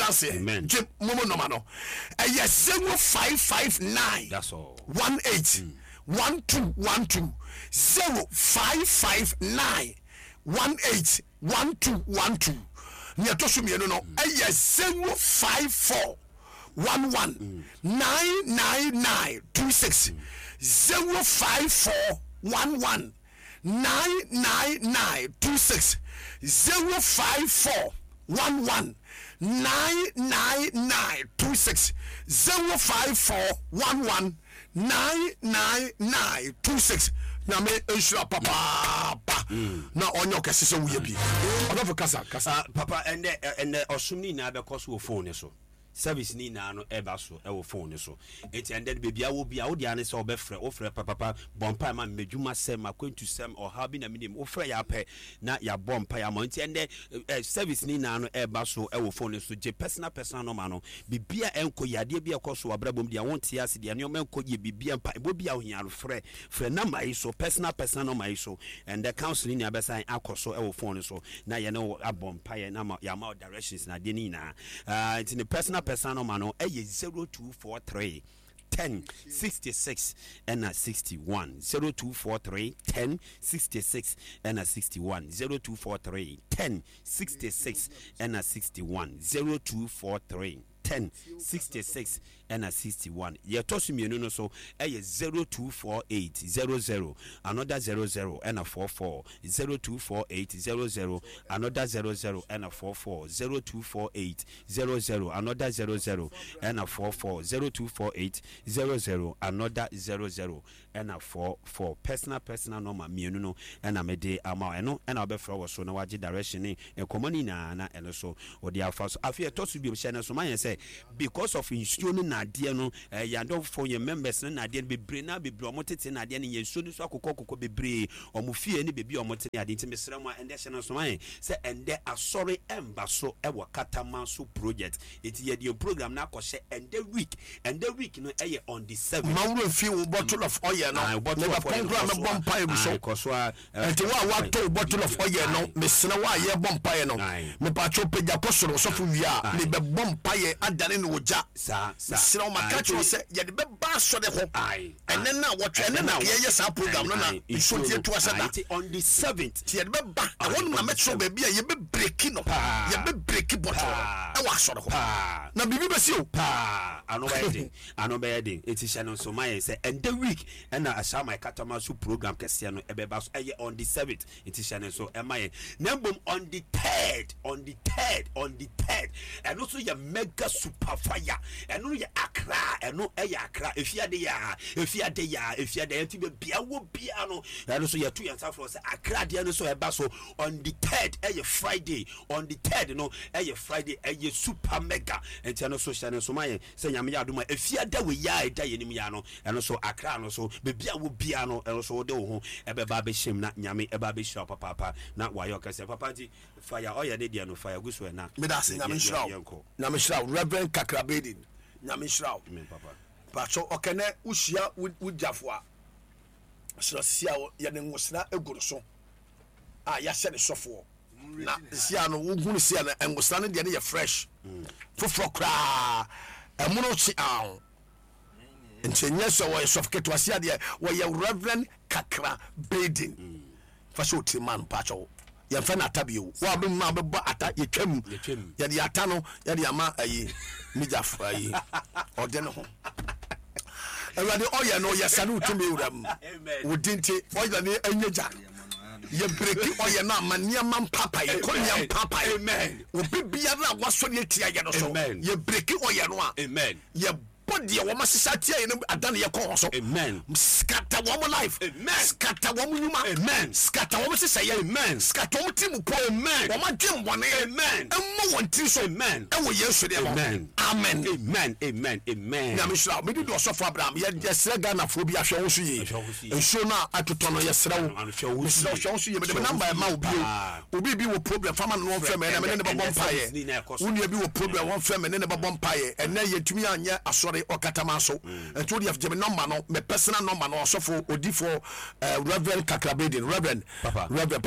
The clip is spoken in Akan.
adanseɛ. Gye momo nɔma no, ɛyɛ 0559 18 1212, 0559 18 1212. Nea ɛtɔ so mmienu no ɛyɛ 054 11 999 26, 054 11 999 26, 054 11 999 26, 054 11 999 26. Nyame nhyira papaapa na ɔnyɛ ɔkɛse sɛ woyɛ bi. Ɔdɔfo kasa kasa. Ah, papa, ɛnɛ ɛnɛ ɔsom no nyinaa bɛkɔ so wɔ phone no so. Service no nyinaa no ɛba so ɛwɔ phone no so. Enti ɛndɛ no baabi a wɔ biara wo deɛ ara ne sɛ wobɛfrɛ, wofrɛ papapa, bɔ mpaeɛ ma me, m'adwuma sɛm, m'akwantu sɛm, ɔhaw bi na menim, wofrɛ yɛ ara pɛ na yɛabɔ mpaeɛ ama wo. Enti ɛndɛ ɛ service no nyinaa no ɛba so ɛwɔ phone no so. Gye personal personal number no, biribi a ɛnkɔ yie, adeɛ bi a ɛkɔ so wɔ abrabɔ mu deɛ wonte ase, deɛ nneɛma ɛnkɔ yie, biribi a mpaebɔ bi a wohia no, frɛ, frɛ number yi so, personal personal number yi so. Ɛndɛ counseling nyinaa bɛsan akɔ so ɛwɔ phone no so na yɛne wo abɔ mpaeɛ na ama yɛama wo directions na adeɛ no nyinaa. Ah, nti ne personal personal number no ɛyɛ 0243 10 66 ɛna 61, 0243 10 66 ɛna 61, 0243 10 66 ɛna 61, 0243 10 66 ɛna 61. Yɛtɔ so mmienu no so ɛyɛ 0248 00 another 00 ɛna 44, 0248 00 another 00 ɛna 44, 0248 00 another 00 ɛna 44, 0248 00 another 00 ɛna 44. Personal personal number mmienu no ɛna mede ama wo. Ɛno ɛna wobɛfrɛ wɔ so na wagye direction ne nkɔmmɔ no nyinaa na ɛno so wode afa so. Afei ɛtɔ so biom, hyɛ no so ma yɛn sɛ because of nsuo no nnadeɛ no, yɛn adɔfoɔ, yɛn members no nnadeɛ no bebree na bebree wɔn tete nnadeɛ no, yɛn nsuo no nso akokɔ kokɔ bebree wɔn fie ne baabi a wɔn te ne adeɛ. Nti mesrɛ mo a ɛndɛ hyɛ no so ma yɛn sɛ ɛndɛ asɔre ɛmba so ɛwɔ Katamanso project. Nti yɛde yɛn program no akɔhyɛ ɛndɛ week. Ɛndɛ week no ɛyɛ on the 7th. Ma wo werɛ mfi wo bottle of oil no. Aye, bottle of Mebɛpɔn oil no koraa kɔ so mɛbɔ a. mpaeɛ gu so. Aye, kɔ so a. Ɛnti wo a woatɔ wo bottle of oil no, mesrɛ wo a yɛrebɔ mpaeɛ no, mepaakyɛw pagya kɔ soro, ɔsɔfo wie a, mebɛbɔ mpaeɛ adane no ogya. Mesrɛ wo, maka akyerɛ wo sɛ yɛde bɛba asɔre hɔ ɛnɛ nnawɔtwe, ɛnɛ na yɛyɛ saa program no na nsuo nti yɛtu ahyɛ da. Nti yɛde bɛba ɛhɔ nom na mɛkyerɛ wo baabi a yɛbɛbreki no, yɛbɛbreki bottle no ɛwɔ asɔre hɔ. Na biribi bɛsi o. Paa, ano bɛyɛ den, ano bɛyɛ den. Nti hyɛ no nso ma yɛn sɛ ɛndɛ week Ɛna Ahyɛaman Katama so program kɛseɛ no ɛbɛba so, ɛyɛ on the seventh, nti hyɛ no nso ɛma yɛn. Na mmom on the third, on the third, on the third, ɛno nso yɛ mega super fire. Ɛno no yɛ Accra, ɛno ɛyɛ Accra, efiade yaa, efiade yaa, efiade yaa, nti baabi a wɔ biara no, ɛno nso yɛto yɛn nsa frɛ sɛ Accra deɛ no nso ɛba so on the third, ɛyɛ Friday, on the third no ɛyɛ Friday, ɛyɛ super mega, nti ɛno nso hyɛ no nso ma yɛn. Sɛ Nyame yɛ adom a, Efiada wei a ɛda yɛn anim yi ara no, ɛno nso Accra no so, baabi a wɔ biara no, ɛno nso wode wo ho ɛbɛba abɛhyɛ mu na Nyame ɛba abɛhyira wo papaapa na wayɛ wo kɛseɛ. Papa nti fire ɔyɛ ne deɛ no, fire gu so ɛ na Meda ase, Nyame nhyira wo. yɛnkɔ. Nyame nhyira wo Reverend Kakra Baden. Nyame nhyira wo. Amen papa. Pakyɛw ɔkɛnɛ wo hyia wo gyafo a srɛ sisi a yɛde nwosra egu no so a yɛahyɛ ne sɔfoɔ. Na sia no wohu no sia no ngosra no deɛ no yɛ fresh foforɔ koraa ɛmono kye aw nti ɛnyɛ sɛ wɔyɛ sɔfo ketewa sia deɛ wɔyɛ reverend kakra baden fa sɛ ɔtiri ma no mpakyɛw yɛmfɛ no ata bio wo a bɛmu a bɛbɔ ata yɛtwam yɛde ata no yɛde ama ayi migyafo ayi ɔde ne ho Awurade ɔyɛ no yɛ sane wo tumi wura mu wo di nti ɔyɛ ne ɛnyɛ gya yɛ breki ɔyɛ no ama nneɛma mpapae kɔ nneɛma mpapae obi biara a wasɔre atia yɛ no so yɛ breki ɔyɛ no a yɛ bɔ deɛ wɔn ahyehyɛ atia yɛ no adane yɛ kɔ wɔn so scatter wɔn life scatter wɔn nnwuma scatter wɔn hyehyɛeɛ scatter wɔn tiri mu pɔ wɔn adwemmɔne mmɔ wɔn tiri so ɛwɔ Yesu deɛ mu amen. Amen amen amen. Nyame nhyira wo. Mede di ɔsɔfo Abraham. Yɛ yɛsrɛ Ghanafoɔ bi ahwɛ wo so yie. Nsuo no a atotɔ no yɛsrɛ wo. Mesrɛ wo hwɛ wo so yie. Mede me number ɛma wo bio. Obi bi wɔ problem fa ma no na ɔmfrɛ me ɛnɛ me ne no bɛbɔ mpaeɛ. Wo nua bi wɔ problem ɔmfrɛ me ne no bɛbɔ mpaeɛ. Ɛnɛ yɛntumi anyɛ asɔre ɔkataman so. Nti wo deɛ gye me number no, me personal number no ɔsɔfo odifoɔ eh, Reverend Kakrabedin, Reverend, Reverend.